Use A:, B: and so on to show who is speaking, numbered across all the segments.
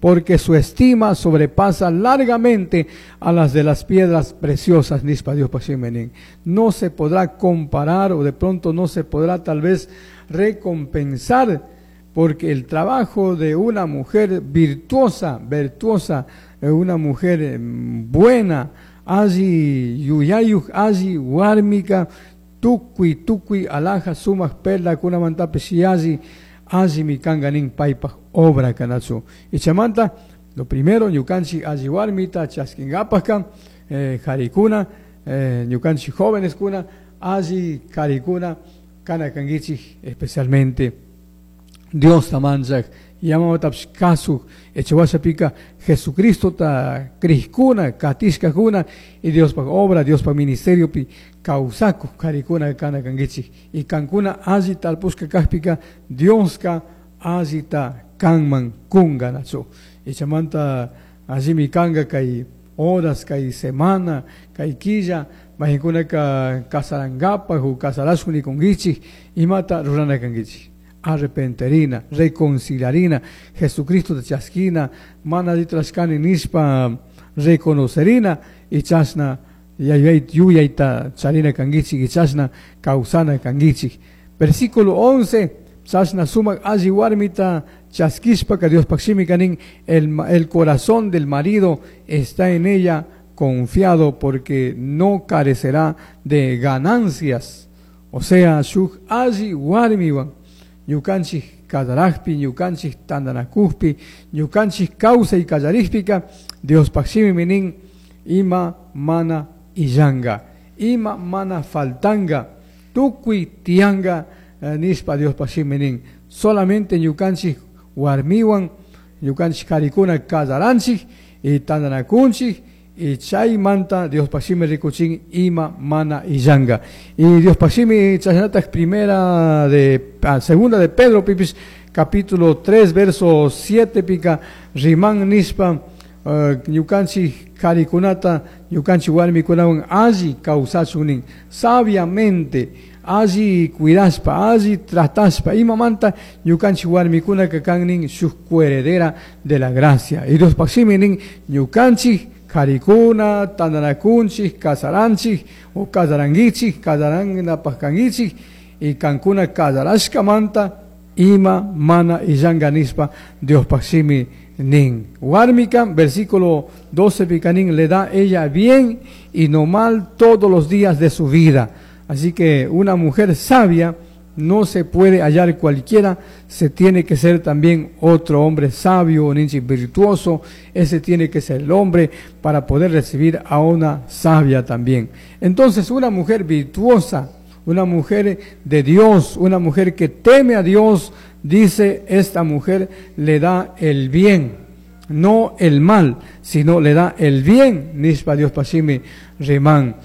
A: Porque su estima sobrepasa largamente a las de las piedras preciosas, nispa Dios. No se podrá comparar o de pronto no se podrá tal vez recompensar, porque el trabajo de una mujer virtuosa, virtuosa, una mujer buena, alli yuyayuj, alli warmika, tukuy tukuy alhaja sumaj perlakunamantapish yalli allimi kanga nin paypaj obra kanachu. Y chaymanta, lo primero, ñukanchik alli warmita chaskingapaska, jarikuna, ñukanchik jóvenes kuna, alli karikuna, kana kankichik especialmente Dios tamanchak, yamamatapish kasuj, echawashapika Jesucristo ta crijkuna, katishkakuna, y Diospaj obra, Diospaj ministeriopi kawsakuj karikuna kana kankichik. Y kankuna alli talpushka kajpika, Dioska allita kanman kunga nachu. Y chaymanta allimi kanga kay horas, kay semana, kay killa, mayqinkunaka kasarankapaj o kasarashun nikunkichik, imata rurana kankichik. Arrepenterina, reconciliarina, Jesucristo te chaskina, mana rurashkani nishpa reconocerina, y chashna yuyayta charina kankichik, y chashna kawsana kankichik. Versículo 11, chashna sumak alli warmita chaskishpaka Diospaj shimika nin, el corazón del marido está en ella confiado, porque no carecerá de ganancias. O sea, shuk alli warmiwan ñukanchik kasarajpi, ñukanchik tandanakujpi, ñukanchik kawsay kallarikpika, Diospaj shimimi nin, ima mana illanga, ima mana faltanga, tukuy tiyanga, nishpa Diospaj shimi nin. Solamente ñukanchik warmiwan, ñukanchik karikuna kasaranchik y tandanakunchik, y chaymanta Diospaj shimi rikuchin ima mana illanga. Y Diospaj shimi chashnataj primera de, ah, segunda de Pedro pipis, capítulo 3, verso 7 pika, riman nishpa, ñukanchik karikunata, ñukanchik warmikunawan alli kawsachun nin, sabiamente, alli cuidashpa, alli tratashpa, imamanta ñukanchik warmikunaka kan nin shuk coheredera de la gracia. Y Diospaj shimi nin, ñukanchik karikuna, tandanakunchik, kasaranchik, o kasarankichik, kasaranapaj kankichik, y kankuna kasarashkamanta ima mana illanga nishpa Diospaj shimi nin. Warmika, versículo 12 pika nin, le da ella bien y no mal todos los días de su vida. Así que una mujer sabia no se puede hallar cualquiera, se tiene que ser también otro hombre sabio, un ninja virtuoso, ese tiene que ser el hombre para poder recibir a una sabia también. Entonces, una mujer virtuosa, una mujer de Dios, una mujer que teme a Dios, dice, esta mujer le da el bien, no el mal, sino le da el bien. Nishpa Diospaj shimi riman.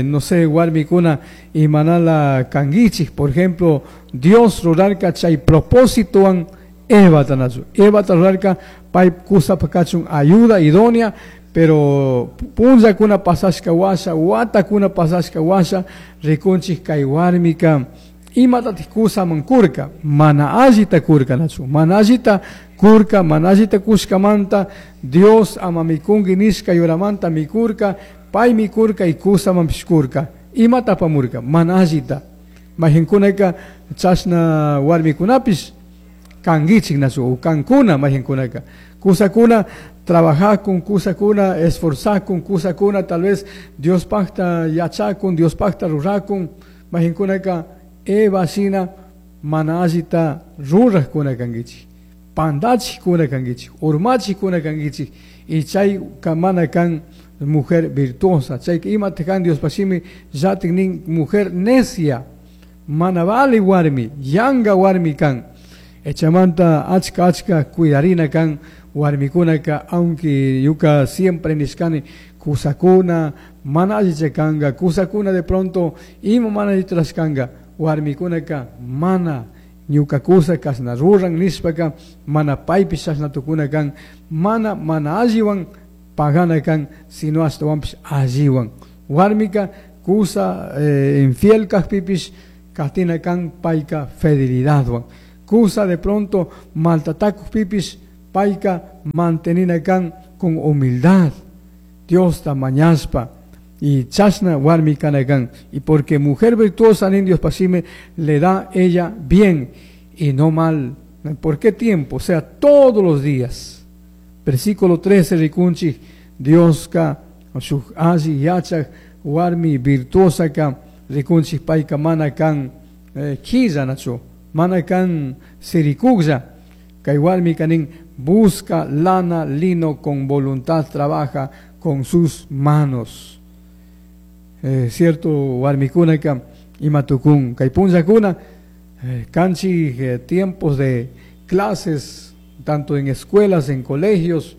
A: No sé, warmikuna y manala kangichik, por ejemplo, Dios rurarka chay propósitowan Eva tanachu. Eva rurarka pay kusapaj kachun ayuda idónea, pero punllakuna pasashka washa, watakuna pasashka washa, rikunchik kay warmika imatatik kusaman kurka, mana allita kurka nachu, mana allita kurka, mana allita kushkamanta, Dios ama mikunki nishka yuramanta mikurka, pay mikurka y kusamanpish kurka. Imata apamurka, mana allita. Mayqinkunaka chashna warmikunapish kankichik nachu, o kankuna mayqinkunaka. Kusakuna trabajakun, kusakuna esforzakun, kusakuna tal vez Diospajta yachakun, Diospajta rurakun, mayqinkunaka Eva shina mana allita rurajkuna kankichik, pandachikuna kankichik, urmachikuna kankichik, y chay mana kan mujer virtuosa, chay imata kan Diospaj shimi llatik nin mujer necia, mana vale warmi, yanga warmi kan. Echamanta achka achka cuidarina kan warmikunaka, aunque yuka siempre nishkani kusakuna mana allicha kanga, kusakuna de pronto ima mana allitrashkanga, warmikunaka mana ñuka kusa kashna ruran nishpaka mana paypish chashna tukuna kan, mana mana alliwan pagana kan, sino ashtawanpish alliwan. Warmika kusa infiel kajpipish katina kan payka fidelidadwan. Kusa de pronto maltatakujpipish Payka mantenina kan con humildad. Diosta mañashpa y chashna warmi kana kan. Y porque mujer virtuosa nin Dios pasime le da ella bien y no mal. ¿Por qué tiempo? O sea, todos los días. Versículo 13 rikunchik Dioska shuk alli yachak warmi virtuosa ka rikunchik payka mana kan quilla nachu, mana kan sirikuklla. Kay warmi kanin busca lana, lino con voluntad, trabaja con sus manos. Cierto warmikunaka ima tukun kay punllakuna kanchik tiempos de clases tanto en escuelas, en colegios.